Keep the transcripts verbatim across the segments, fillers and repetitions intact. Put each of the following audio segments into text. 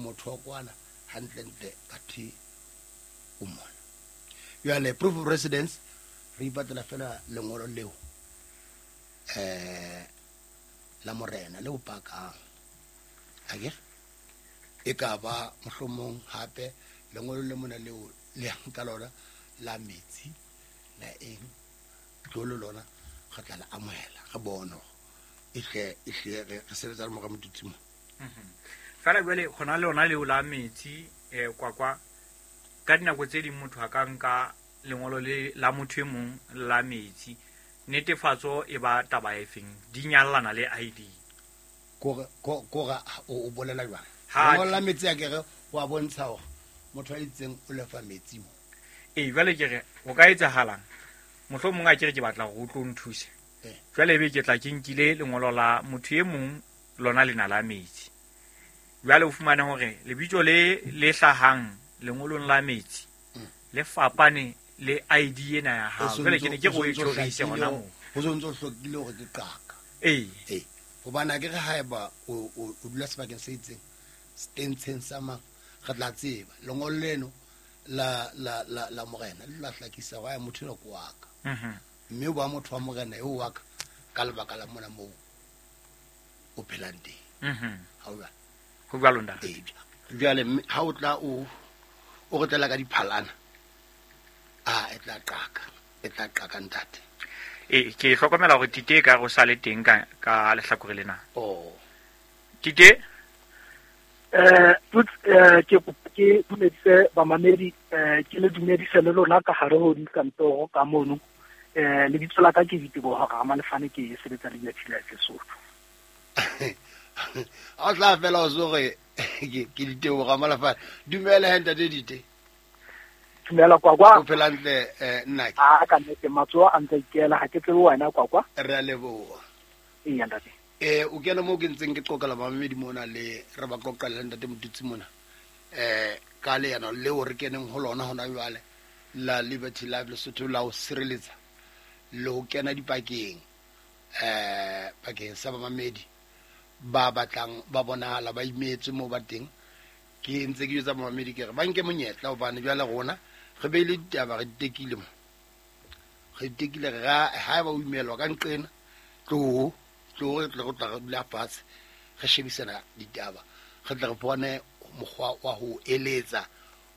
O motho wa kwana hantlentle athe o mona. Jwale proof of residence re ipatlela fela lengolo leo eh la morena le o pakang akere e ka ba mohlomong hape lengolo le mona leo le yang ka lona la metsi la eng tlolo lona re tla le amohela re bone hore e hle e hle re re sebetsa le mora Motutsi mo. Fela jwale hona le lona leo la metsi eh Kwakwa, ka dinako tse ding motho a ka nka lengolo le la motho e mong la metsi, netefatso e ba taba e feng, di nyallana le I D. Kore kore o o bolela jwang? Ha Lengolo la metsi a kere wa bontsha hore motho a itseng o lefa metsi mo. Ee, jwale ke re ho ka etsahalang, mohlomong a kere ke batla hore o tlo nthuse. Eh. Jwale ebe ke tla ke nkile lengolo la motho e mong lona lena la metsi. Jwale o fumane hore lebitso le le hlahang lengolong la metsi Mm. le fapane le I D ena ya hao. O so Jwale ntso ke ne ke o so re o e ntso tjhorise hlakile hona hore moo. Ho so ntso hlokile hore ke qaka. Ee. Ee. Hobane akere haeba o o o dula sebakeng se itseng, stentsheng sa mang, re tla tseba lengolo leno la la la la morena le la hlakisa hore motho enwa ke wa ka. Mhm. Mme o ba motho wa morena eo wa ka ka lebaka la mona moo o phelang teng. Mhm. Ha o jwalo? Ho jwalo ntate. Ee. Jwale mme ha o tla o o re tlela ka diphalana, a e tla qaka, e tla qaka ntate. Ee, ke hlokomela hore Tite e ka re o sa le teng ka ka lehlakore lena. Oh. Tite? Eh, Tuts, eh, ke ke dumedise bamamedi, eh, ke le dumedise le lona ka hare ho dikantoro ka mono. Eh, lebitso la ka ke Diteboho Ramalefane, ke sebetsa le Liberty Life Lesotho. Ha o tla fela o so re ke ke Diteboho Ramalefane. Dumela he ntate Dite. Dumela Kwakwa. O phela hantle, eh, nnake? A ka nnete matsoho a ntse a ikela, ha ke tsebe wena Kwakwa. Re a leboha. Eya ntate. Eh, o kena moo ke ntseng ke qoqela bamamedi mona le re ba qoqela le ntate Motutsi mona. Eh, ka leano leo re keneng ho lona hona jwale la Liberty Life Lesotho la ho sireletsa le ho kena dipakeng, eh, pakeng sa bamamedi ba batlang ba bonahala ba imetswe moo ba teng. Ke ntse ke jwetsa bamamedi ke re ba nke monyetla hobane jwale rona re beile ditaba re di tekile mo. Re di tekile re ra, haeba o imelwa ka nqena, tloho, tloho re tle re tla re dula fatshe re shebisana ditaba, re tle re bone mokgwa wa ho eletsa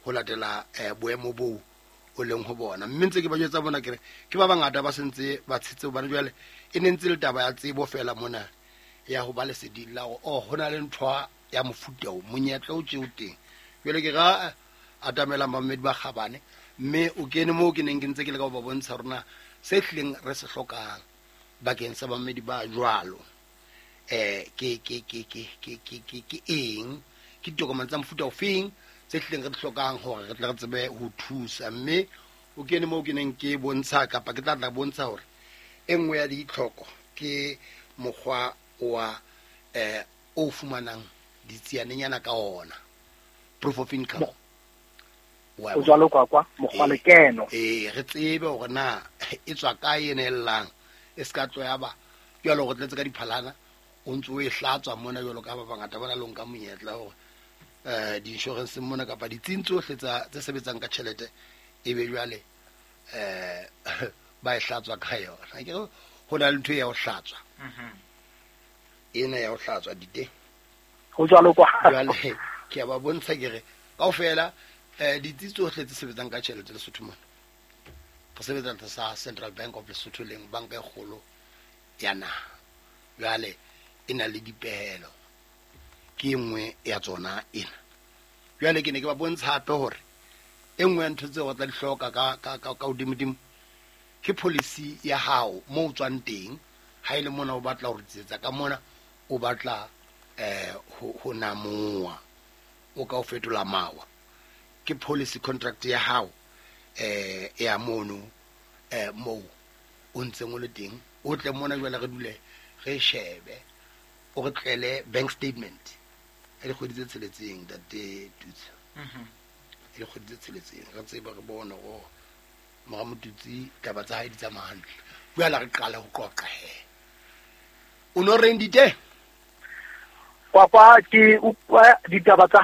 ho latela, eh, boemo boo o leng ho bona. Mme ntse ke ba jwetsa bona ke re ke ba bangata ba sentse ba tshetse hobane jwale e ne ntse le taba ya tsebo fela mona ya ho ba leseding la hore, oh, ho na le ntho ya mofuta o, monyetla o tje o teng. Jwale ke ra atamela bamamedi ba kgabane, mme o kene moo ke neng ke ntse ke leka ho ba bontsha hore na se hlileng re se hlokang bakeng sa bamamedi ba jwalo, eh, ke, ke, ke, ke, ke, ke, ke, ke eng, ke ditokomane tsa mofuta ofeng tse hlileng re di hlokang hore re tle re tsebe ho thusa. Mme o kene moo ke neng ke bontsha kapa ke tla tla bontsha hore e nngwe ya ditlhoko ke mokgwa wa, eh, o fumanang ditsianenyana ka ona, proof of income. Wa O jwalo Kwakwa, mokgwa Eh, lekeno. eh, re tsebe hore na e tswa kae e nellang, e ska tlo ya ba jwalo re tletse ka diphalana o ntso o e hlatswa mona jwalo ka ba bangata ba na le ho nka monyetla hore, eh, di-insurance mona kapa ditsing tsohle tsa tse sebetsang ka tjhelete e be jwale, eh, ba e hlatswa ka yona. Ke re ho na le ntho ya ho hlatswa. Mhm. Ena ya ho hlatswa dite. Ho jwalo kwa. Jwale ke a ba bontsha ke re kaofela, eh, ditsi tsohle tse sebetsang ka tjhelete Lesotho mona. Re sebetsa tlasa Central Bank of Lesotho leng banka e kgolo ya naha. Jwale e na le dipehelo, ke e nngwe ya tsona ena. Jwale ke ne ke ba bontsha hape hore e nngwe ya ntho tseo re tla di hloka ka, ka, ka, ka hodimodimo ke policy ya hao moo o tswang teng. Ha e le mona o batla ho ritsetsa ka mona, o batla, eh, ho, ho namoha, o ka o fetola mawa, ke policy contract ya hao, eh, ya mono, eh, moo o ntseng o le teng. O tle mona jwale re dule re shebe, o re tlele bank statement ya dikgwedi tse tsheletseng, ntate Tutsi. Mhm. Ya dikgwedi tse tsheletseng, re tsebe re bone hore mora Motutsi taba tsa hae di tsamaya hantle. Jwale re qale ho qoqa he. O no reng dite? Kwakwa, ke utlwa ditaba tsa